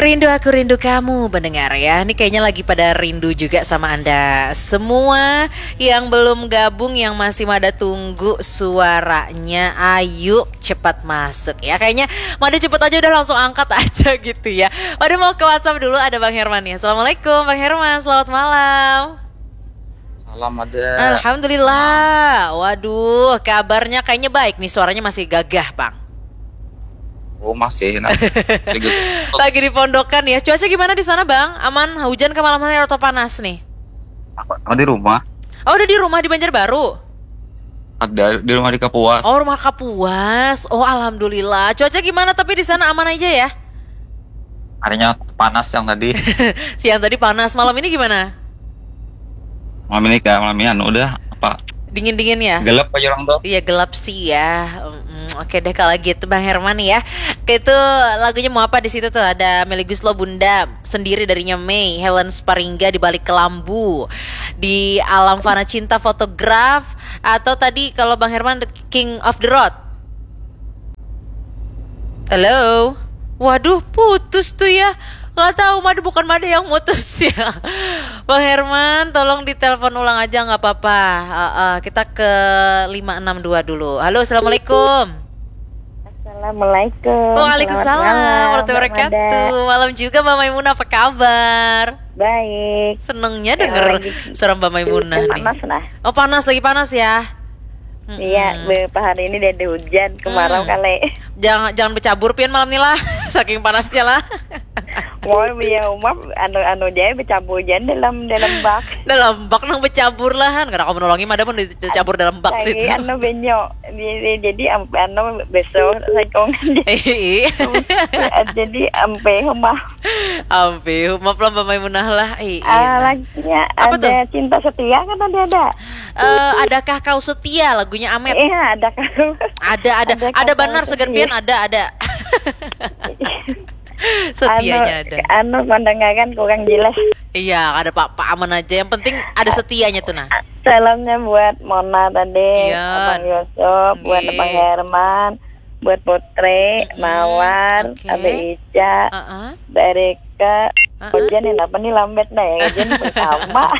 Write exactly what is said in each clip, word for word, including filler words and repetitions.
Rindu aku rindu kamu pendengar ya. Ini kayaknya lagi pada rindu juga sama Anda semua yang belum gabung, yang masih mada tunggu suaranya. Ayu cepat masuk ya. Kayaknya mada cepet aja udah langsung angkat aja gitu ya. Mada mau ke WhatsApp dulu, ada Bang Herman ya. Assalamualaikum Bang Herman, selamat malam. Salam ada. Alhamdulillah. Waduh, kabarnya kayaknya baik nih, suaranya masih gagah, Bang. Oh masih nah. Lagi di pondokan ya. Cuaca gimana di sana, Bang? Aman, hujan ke malam hari atau panas nih? Aku di rumah. Oh, udah di rumah di Banjarbaru. Ada di rumah di Kapuas. Oh, rumah Kapuas. Oh, alhamdulillah. Cuaca gimana tapi di sana, aman aja ya? Harinya panas yang tadi. Siang tadi panas. Malam ini gimana? Malam ini kak, malam ini anu udah apa? Dingin-dingin ya? Gelap aja orang tuh. Iya, gelap sih ya. Mm, oke deh kalau gitu, Bang Herman ya. Oke, itu lagunya mau apa di situ tuh? Ada Meli Guslow, Bunda, Sendiri darinya Mei, Helen Sparingga, Di Balik Kelambu, Di Alam Fana Cinta, Fotograf, atau tadi kalau Bang Herman, The King of the Road. Halo. Waduh, putus tuh ya. Nggak tahu, mada bukan mada yang mutus ya. Bang Herman, tolong ditelepon ulang aja, nggak apa-apa. Eh, eh, kita ke lima enam dua dulu. Halo, assalamualaikum. Assalamualaikum. Waalaikumsalam Selamat malam, warahmatullahi Mbak Mada. Wabarakatuh. Malam juga, Mbak Maimunah, apa kabar? Baik. Senengnya Ya, denger lagi suara Mbak Maimunah Teh nih. Panas nah. Oh, panas, lagi panas ya. Mm-mm. Iya, beberapa hari ini ada hujan kemarau Hmm. kali. Jangan jangan bercabur pian malam nih lah. Saking panasnya lah. Mau biar umat anu anu aja bercampur hujan dalam dalam bak. Dalam bak nang bercabur lah kan. Kada kamu nolongi mada pun dicabur dalam bak Lagi situ. Anu benyo. Jadi, jadi am- anu besok saikong. Ih, Jadi ampe rumah. Ampe, maaf lah Mbak Maimunah lah. Ih, Ah, elah. lagunya Apa ada cinta setia kan tadi ada. Eh, adakah kau setia lagunya Amet? Iya, ada kau. Ada, ada, Ada ada kata banar segan setia. Pian ada, ada. Setianya ada. Anu pandangan kurang jelas. Iya, ada apa-apa aman aja. Yang penting ada setianya tuh nah. Salamnya buat Mona tadi, Iya. Abang Yusuf, buat Nggih. Abang Herman, buat Putri, Mm-mm. Mawar, Oke. Abe Ica, Heeh. Mbak Rika. Heeh. Hujan ini apa nih lambat dah ya, hujan pertama.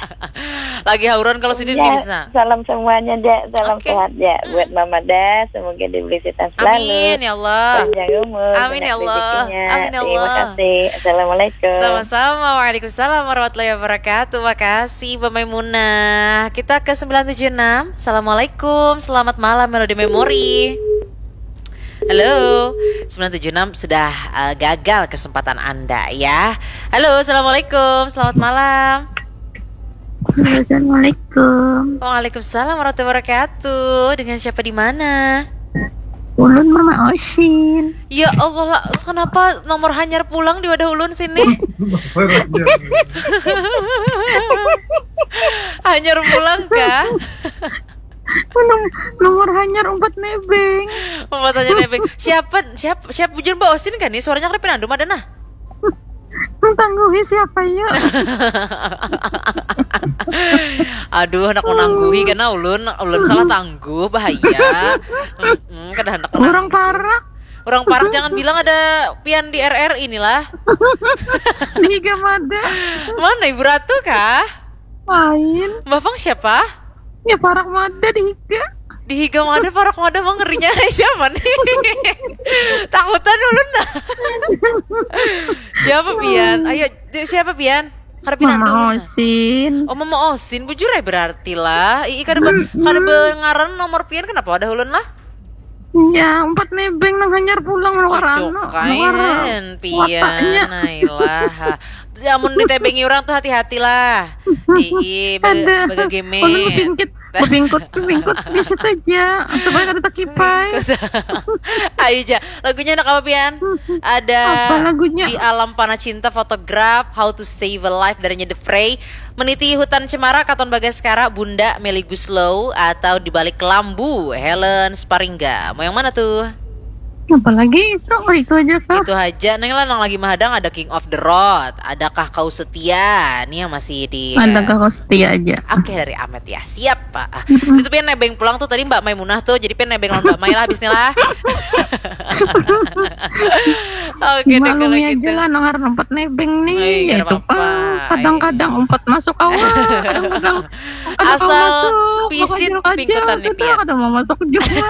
Lagi hauran kalau sini Ya, bisa. Salam semuanya, Dek. Salam Oke. Sehat, Dek. Buat Mama Dah, semoga diberi sehat selalu. Amin ya Allah. Panjang umur, Amin banyak ya Allah. rezekinya. Amin ya Terima Allah. Kasih. Assalamualaikum. Sama-sama. Waalaikumsalam warahmatullahi wabarakatuh. Makasih Mbak Maimunah. Kita ke sembilan tujuh enam. Assalamualaikum. Selamat malam Melody Memory. Halo. Sembilan tujuh enam sudah eh, gagal kesempatan Anda ya. Halo, assalamualaikum. Selamat malam. Halo, assalamualaikum. Waalaikumsalam warahmatullahi wabarakatuh. Dengan siapa di mana? Ulun Mama Osin. Ya Allah, lah, kenapa nomor hanyar pulang di wadah ulun sini? Hanyar pulang kah? Nom- nomor hanyar umpat nebeng. Mau tanya nebeng. Siapa siapa siapa bujur Mbak Osin kan nih? Suaranya kada pinandu ada nah. Nang tangguhi siapa ya? Aduh, anak menangguhi karena ulun ulun salah tangguh, bahaya. Mm-mm, kada hendak Orang menangguh. Parak. Orang Parak, jangan bilang ada Pian di R R I inilah. Di Higa Mada. Mana Ibu Ratu kah? Lain. Mbak Fang siapa? Ya Parak Mada di Higa. Di Higa Mada, Parak Mada, mah ngerinya siapa nih? Takutan ulun dah. Siapa Pian? Ayo, di- siapa Pian? Kada pinandu Mama ulun dah. Osin. Oh, Mama Osin, bujur ya berarti lah. Ii, kada be, kada bengaran nomor Pian, kenapa wadah ulun lah? Ya, umpat nebeng nang hanyar pulang nang warano. Cucukan Pian, Wataknya. Nailah. Amun ditebengi orang tuh hati-hati lah. Ii, baga, Ada. baga game. Ulun bingkit, bingkut, bingkut, biasa saja. Supaya kada takipai. Ayo ja, lagunya anak apa Pian? Ada Apa lagunya? Di Alam Panah Cinta, Fotograf, How to Save a Life darinya The Fray, Meniti Hutan Cemara, Katon Bagaskara, Bunda, Melly Guslow, atau Di Balik Kelambu, Helen Sparingga. Mau yang mana tuh? Apalagi itu, oh, itu aja kah? Itu aja, Neng lah, nang lagi mahadang ada King of the Road, adakah kau setia? Ini yang masih di Adakah kau setia aja? Oke, dari Amet ya, siap Pak. Ah, itu pian nebeng pulang tuh tadi Mbak Maimunah tuh, jadi pian nebeng lawan Mbak Mai lah habis ini lah. Oke deh kalau Maklumi gitu. Aja lah, nang harus empat nebeng nih. Iya, Ya, itu apa-apa. Pak. Kadang-kadang empat masuk awal, kadang-kadang empat Asal masuk, pisit makanya aja, pingkutan nih, sudah Pian. Kada mau masuk juga.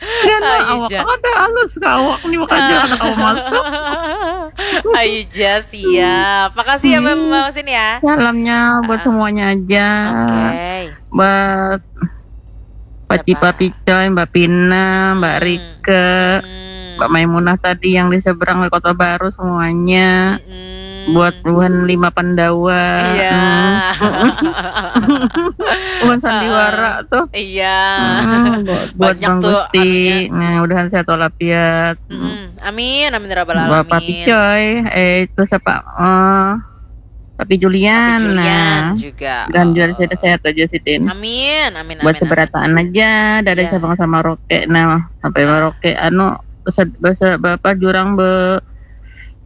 Karena Ayo, awak Ja. Kada halus ke awak nih, makanya kada mau masuk. Ayo Ja, siap. Makasih ya Mbak Mbak Sin ya. Salamnya buat semuanya aja. Oke. Buat Pak Siapa? Cipa Picoy, Mbak Pina, Mbak Hmm. Rike, Hmm. Mbak Maimunah tadi yang di seberang di Kota Baru semuanya. Hmm. Buat buhan lima Pandawa. Iya. Hmm. Buhan Sandiwara tuh. Iya. Hmm, buat, buat Banyak Bang tuh Gusti. anunya. Nah, mudahan sehat walafiat. Mm-mm. Amin, amin ya rabbal Bapak alamin. Picoy, eh itu siapa? Eh Tapi Julian. Tapi Julian Nah. juga. Dan juga sehat-sehat aja sih, Din. Amin, amin, Buat amin. Seberataan aja, dari Iya. Sabang sama Roke. Nah, sampai Ah. Merauke anu bahasa bahasa apa jurang be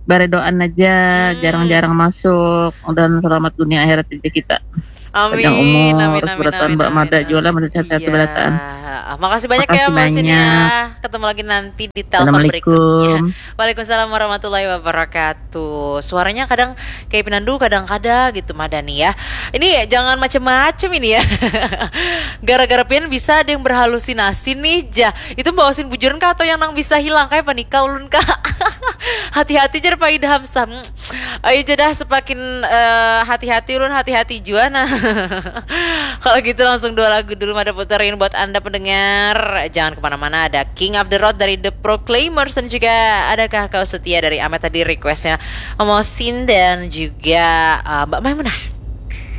baredoan aja, Hmm. jarang-jarang masuk dan selamat dunia akhirat aja kita. Amin, Panjang umur, amin, terus amin, Seberataan amin, Mbak amin, Mada amin. Jualan, Mada sehat-sehat Iya. Seberataan. Ah, makasih banyak ya Makasih Mbak Sin ya. banyak. Ketemu lagi nanti di telpon berikutnya. Assalamualaikum. Waalaikumsalam warahmatullahi wabarakatuh. Suaranya kadang kayak pinandu, kadang kada gitu Madani ya. Ini jangan macam-macam ini ya. Gara-gara pian bisa ada yang berhalusinasi nih Ja. Itu Mbak Osin bujuran kah atau yang nang bisa hilang kayak panika ulun kah? Hati-hati jar Pak Idham Sam. Ayo jadah semakin eh, hati-hati ulun hati-hati jua nah. Kalau gitu langsung dua lagu dulu Mada puterin buat anda pendengar. Jangan kemana-mana, ada King of the Road dari The Proclaimers dan juga adakah kau setia dari Amet tadi requestnya Mosin dan juga eh, Mbak Maimunah.